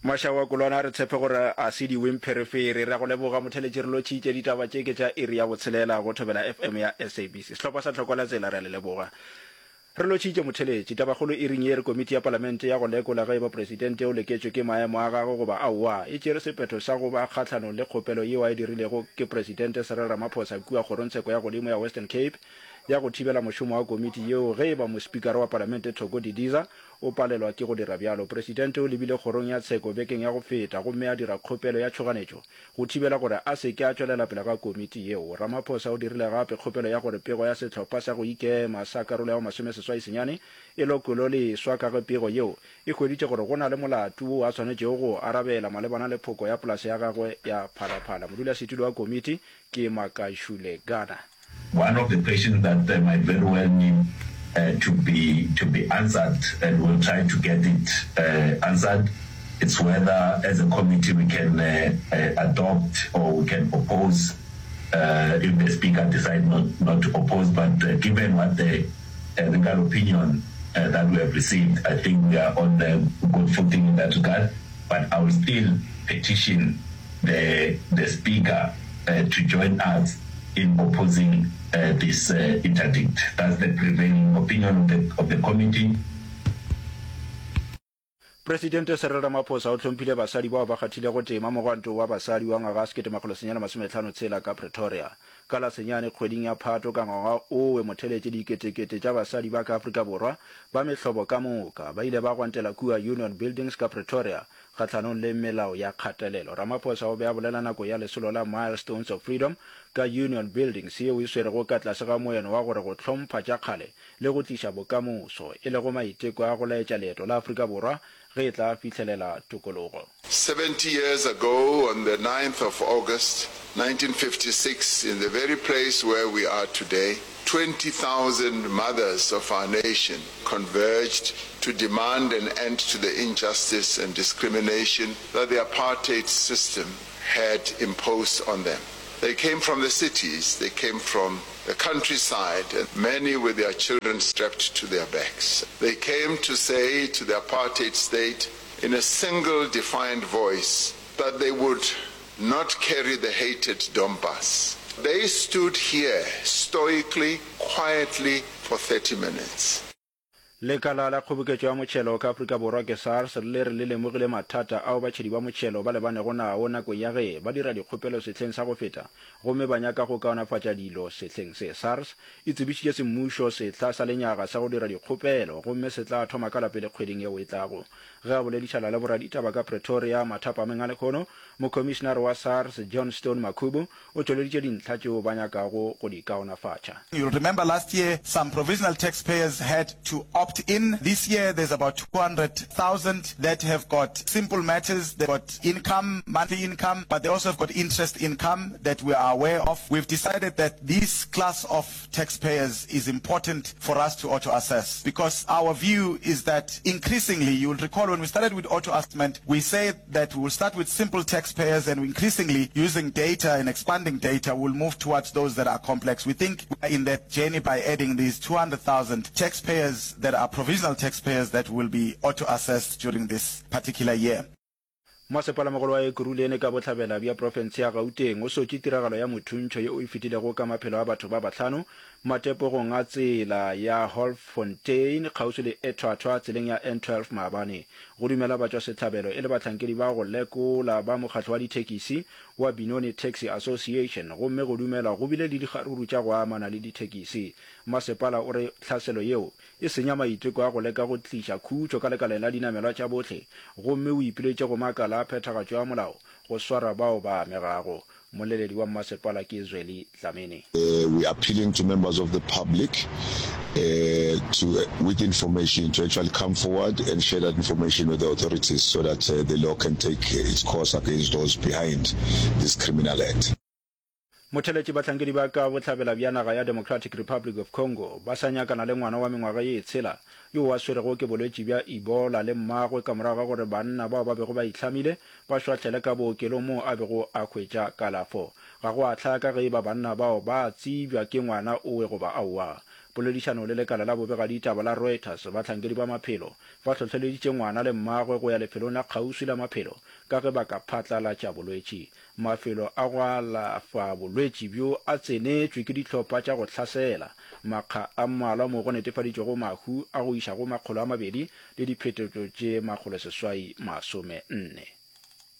Mašawa Kolwana a re tshepe gore a se diwempherefere. Re a go leboga motheletši re lotšhitše ditaba tše ke tša iri ya botshelela go Thobela FM ya SABC. Sehlopha sa Tlhoko la Tsela re a le leboga. Re lotšhitše motheletši. Tabakgolo iring ye e re komiti ya palamente ya go lekola ge eba presidente o leketšwe ke maemo a gagwe goba aowa e tšere sephetho sa go ba kgahlanong le kgopelo yeo a e dirilego ke Presidente Cyril Ramaphosa kua kgorongtsheko ya godimo ya Western Cape ya go thibela mošomo wa komiti yeo ge eba mospikara wa palamente Thoko Didiza o palelwa ke go dira bjalo. Presidente o lebile kgorong ya tsheko bekeng ya go feta gomme a dira kgopelo ya tšhoganetšo go thibela gore a se ke a tšwelela pele ga komiti yeo. Ramaphosa o dirile gape kgopelo ya gore pego ya sehlopha sa go ikema sa karolo ya bo senyane e lokolwe leswa ka ge pego yeo e hweditše gore go na le molato wo a swanetšego go o arabela malebana le phoko ya polase ya gagwe ya Phalaphala. Modulasetulo wa komiti ke Makashule Gana. One of the questions that might very well need to be to be answered and we'll try to get it answered it's whether as a committee we can adopt or we can oppose if the speaker decide not not to oppose but given what the legal opinion that we have received I think we are on good footing in that regard but I will still petition the the speaker to join us in opposing this interdict. That's the prevailing opinion of the, of the committee. Presidente Cyril Ramaphosa o hlomphile basadi bao ba kgathilego tema mogwanto wa basadi wa ngwaga 1956 ka Pretoria. Ka la senyane kgweding ya Phato ka ngwaga owe motheletše diketekete tša basadi ba ka Afrika Borwa ba mehlobo ka moka ba ile ba gwantela kua Union Buildings ka Pretoria Kgahlanong le melao ya kgatelelo, Ramaphosa o be a bolela nako ya lesolo la Milestones of Freedom ka Union Buildings yeo e swerego ka tlase ga moeno wa gore go hlompha tša kgale le go tliša bokamoso, e lego maiteko a go laetša leeto la Afrika Borwa ge e tla fihlelela tokologo. 70 years ago on the 9th of August 1956 in the very place where we are today, 20,000 mothers of our nation converged to demand an end to the injustice and discrimination that the apartheid system had imposed on them. They came from the cities, they came from the countryside, and many with their children strapped to their backs. They came to say to the apartheid state in a single defiant voice that they would not carry the hated dompas. They stood here stoically, quietly for 30 minutes. Lekala la kgoboketšo ya motšhelo ka Afrika Borwa ke SARS le re le lemogile mathata ao batšhedi ba motšhelo ba lebanego nao nakong ya ge ba dira dikgopelo sehleng sa go feta gomme ba nyaka go kaonafatša dilo sehleng se. SARS e tsebišitše semmušo sehla sa lenyaga sa go dira dikgopelo gomme se tla thoma ka la pele kgweding yeo e tlago. Ge a boledišana le boraditaba ka Pretoria mathapameng a lekhono, Mokhomišenare wa SARS Johnstone Makhubu o tšweleditše dintlha tšeo ba nyakago go di kaonafatša. You'll remember last year some provisional taxpayers had to opt in. This year there's about 200,000 that have got simple matters, they've got income, monthly income, but they also have got interest income that we are aware of. We've decided that this class of taxpayers is important for us to auto-assess because our view is that increasingly, you will recall when we started with auto-assessment, we said that we will start with simple taxpayers and increasingly using data and expanding data, we'll move towards those that are complex. We think we are in that journey by adding these 200,000 taxpayers that are provisional taxpayers that will be auto-assessed during this particular year. Masepalamogolo wa Ekurhuleni ka bohlabela bja profense ya Gauteng o sotše tiragalo ya mothuntšho yeo e fetilego ka maphelo a batho ba bahlano matepogong a tsela ya Holfontein kgauswi le Ethwathwa tseleng ya N12 maabane. Go dumela batšwasehlabelo e le bahlankedi ba go lekola ba mokgatlo wa dithekisi wa Benoni Taxi Association gomme go dumelwa go bile le dikgaruru tša go amana le dithekisi. Masepala o re tlhaselo yeo e senya maiteko a go leka go tliša khutšo ka lekaleng la dinamelwa tša bohle gomme o ipiletše go makala a phethagatšo ya molao go swara bao ba amegago. Mmoleledi wa mmasepala ke Zweli Dlamini. We are appealing to members of the public to with information to actually come forward and share that information with the authorities so that the law can take its course against those behind this criminal act. Motheletši Bahlankedi ba ka bohlabela bja naga ya Democratic Republic of Congo ba sa nyakana le ngwana wa mengwaga ye tshela yo a swerego ke bolwetši bja Ebola le mmagwe ka morago ga gore banna bao ba bego ba itlhamile ba šwahlele ka bookelong moo a bego a hwetša kalafo. Ga go a hlaka ge e ba banna bao ba tsebja ke ngwana owe goba aowa. Poledišano le lekala la bobegaditaba la Reuters, bahlankedi ba maphelo ba hlohleleditše ngwana le mmagwe go ya lefelong la kgauswi la maphelo ka ge ba ka phatlalatša bolwetši. Mafelo a go alafa bolwetši bjo a tsenetšwe ke dihlopha tša go hlasela makga a mmalwa moo go netefaditšwego mahu a go iša go 200 le diphetetšo tše 840.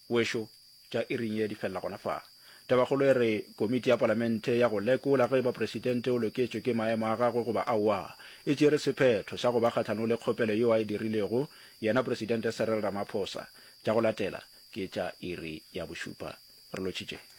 Wešo, tša iring ye di felela gona fa. Tabakgolo e re komiti ya palamente ya go lekola ge eba presidente o loketšwe ke maemo a gagwe goba aowa, e tšere sephetho sa go ba kgahlanong le kgopelo yeo a e dirilego yena Presidente Cyril Ramaphosa. Tša go latela ke tša iri ya bošupa. Re lotšhitše.